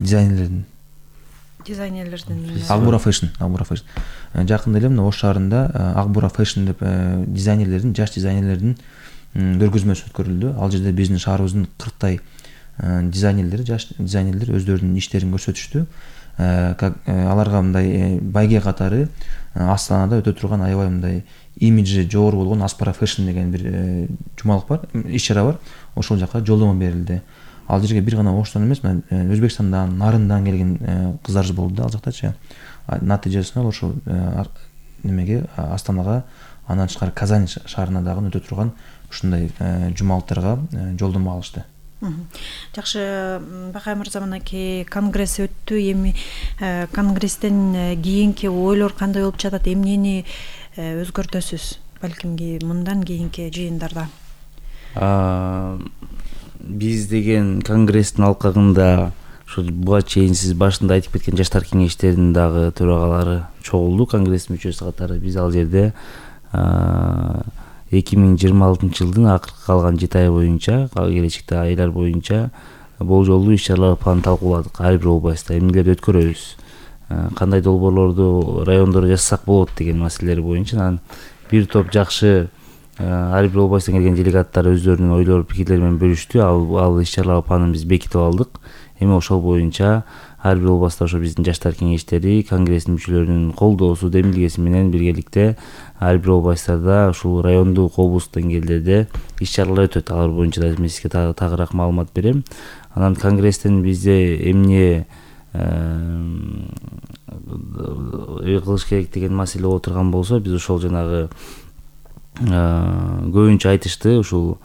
дизайнерлердин Акбура Fashion. Жакында эле мына Ош шаарында Акбура Fashion деп дизайнерлердин, жаш дизайнерлердин көргөзмөсү өткөрүлдү. Ал жерде биздин шаарыбыздын 40 дизайнерлери, жаш дизайнерлер өздөрүнүн иштерин көрсөтүштү. Аларга мындай байге катары Астанада өтө турган аябай мындай имиджи жогору болгон Аспара Fashion деген бир жумалык бар, иш-чара бар. Ошол жака жолдомо берилди. Ал жерге бир гана Оштон эмес, Өзбекстандан, Нарындан келген кыздар болду ал жактачы. Натыйжасында ошол немеге Астанага, андан тышкары Казань шаарына дагы өтө турган ушундай жумалыктарга жолдомо алышты. Жакшы, Бакай мырза, мынакей конгресс өттү. Эми конгресстен кийинки ойлор кандай болуп жатат? Эмнени өзгөртөсүз? Балким мындан кийинки жыйындарда. Биз деген конгресстин алкагында ошо буга чейин сиз башында айтып кеткен жаштар кеңештеринин дагы төрагалары чогулду, конгресстин мүчөсү катары. Биз ал жерде 2026 жылдын акыркы калган 7 ай боюнча, келечекте айлар боюнча болжолдуу иш-чаралар планын талкууладык. Ар бир областта эмнелерди өткөрөбүз, кандай долбоорлорду райондордо жасасак болот деген маселелер боюнча. Анан бир топ жакшы ар бир областтан келген делегаттар өздөрүнүн ойлор, пикирлери менен бөлүштү. Ал иш-чаралар планын биз бекитип алдык. Эми ошол боюнча ар бир областта ошо биздин жаштар кеңештери, конгресстин мүчөлөрүнүн колдоосу, демилгеси менен биргеликте ар бир областтарда ушул райондук, облустук деңгээлдерде иш-чаралар өтөт. Алар боюнча да мен сизге тагыраак маалымат берем. Анан конгресстен бизде эмне кылыш керек деген маселе боло турган болсо, биз ошол жанагы көбүнчө айтышты, ушул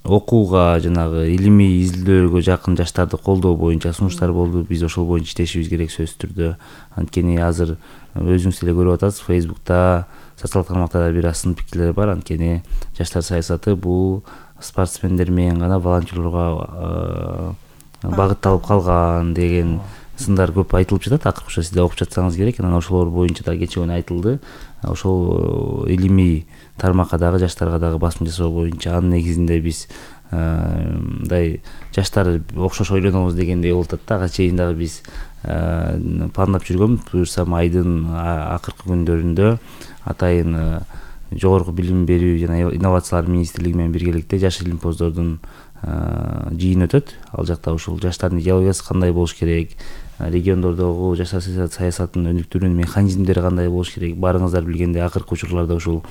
окууга, жанагы илимий изилдөөгө жакын жаштарды колдоо боюнча сунуштар болду. Биз ошол боюнча иштешибиз керек сөзсүз түрдө. Анткени азыр өзүңүз эле көрүп атасыз, Facebook'та, социалдык тармактарда бир сын пикирлер бар. Анткени жаштар саясаты бул спортсмендер менен гана, волонтерлорго багытталып калган деген сындар көп айтылып жатат. Акыркы сиз да окуп жатсаңыз керек. Анан ошолор боюнча да кечээ күнү айтылды. Ошол илимий тармакка дагы, жаштарга дагы басым жасоо боюнча, анын негизинде биз мындай жаштар окшош ойлонобуз дегендей болуп атат да. Ага чейин дагы биз пландап жүргөн, буюрсам айдын акыркы күндөрүндө атайын жогорку билим берүү жана инновациялар министрлиги менен биргеликте жаш илимпоздордун жыйын өтөт. Ал жакта ушул жаштардын идеологиясы кандай болуш керек, региондордогу жаштар саясатынын өнүктүрүүнүн механизмдери кандай болуш керек. Барыңыздар билгендей, акыркы учурларда ушул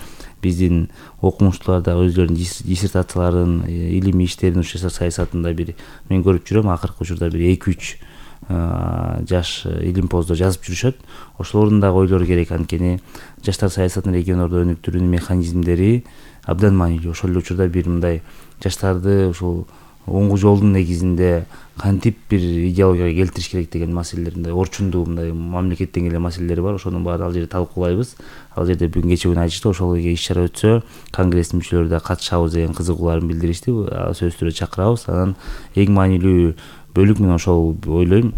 биздин окумуштуулар да өзлөрүнүн диссертацияларын, илимий иштерин жаштар саясатында бир мен көрүп жүрөм. Акыркы учурда бир 2-3 жаш илимпоздор жазып жүрүшөт. Ошолордун дагы ойлору керек. Анткени жаштар саясатын региондордо өнүктүрүүнүн механизмдери абдан маанилүү. Ошол эле учурда бир мындай жаштарды ушул оңгу жолдун негизинде кантип бир идеологияга келтириш керек деген маселелеринде орчундуу мындай мамлекеттен келген маселелер бар. Ошонун баарын ал жерде талкуулайбыз. Ал жерде бүгүн кечээ күнү айтышты, ошол иш-чара өтсө конгресстин мүчөлөрү да катышабыз деген кызыгууларын билдиришти. Сөзсүз түрдө чакырабыз. Анан эң маанилүү бөлүк мен ошол ойлойм.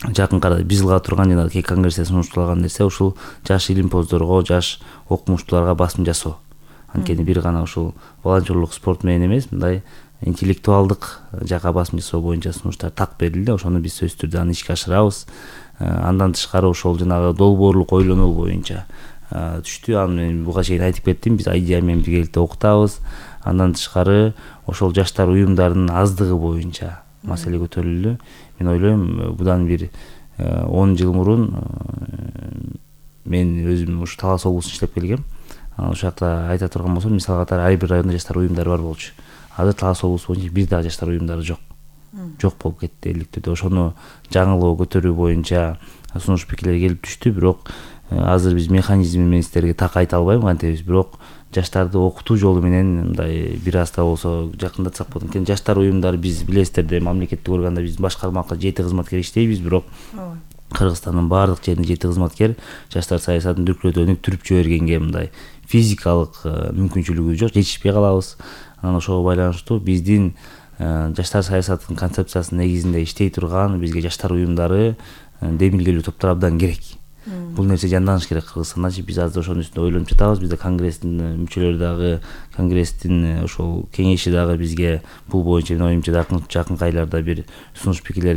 Жакынкы арада биз кыла турган жана кей конгрессте сунушталган нерсе ушул жаш илимпоздорго, жаш окумуштууларга басым жасоо. Анткени бир гана ушул волонтерлук, спорт менен эмес, мындай интеллектуалдык жакка басым жасоо боюнча сунуштар так берилди. Ошону биз сөзсүз түрдө аны ишке ашырабыз. Андан тышкары ошол жанагы долбоорлук ойлонуу боюнча түштү. Аны мен буга чейин айтып кеттим. Биз идея менен биргеликте окутабыз. Андан тышкары ошол жаштар уюмдарынын аздыгы боюнча маселе көтөрүлдү. Мен ойлойм, будан бир 10 жыл мурун мен өзүм ушу Талас облусунда иштеп келгем. Ошол жакта айта турган болсом, мисал катары ар бир райондо жаштар уюмдары бар болчу. Азыр Талас облусу боюнча бир дагы жаштар уюмдары жок. Жок болуп кетти элдиктирде. Ошону жаңылоо көтөрүү боюнча сунуш пикирлер келип түштү. Бирок азыр биз механизми менен сиздерге так айта албайм кантебиз. Бирок жаштарды окутуу жолу менен мындай бир аз да болсо жакындатсак болот. Анткени жаштар уюмдары биз билесиздер, мамлекеттик органда биз башкармалыкка 7 кызматкер иштейбиз. Бирок Кыргызстандын баардык жеринде 7 кызматкер жаштар саясатын дүркүрөтүп өнүктүрүп жибергенге мындай физикалык мүмкүнчүлүгү жок, жетишпей калабыз. Анан ошого байланыштуу биздин жаштар саясатынын концепциясынын негизинде иштей турган бизге жаштар уюмдары, демилгелүү топтор абдан керек. бул нерсе жанданыш керек Кыргызстандачы. Биз азыр ошонун үстүндө ойлонуп жатабыз. Бизде конгресстин мүчөлөрү дагы, конгресстин ошол кеңеши дагы бизге бул боюнча менин оюмча жакынкы айларда бир сунуш пикирлерин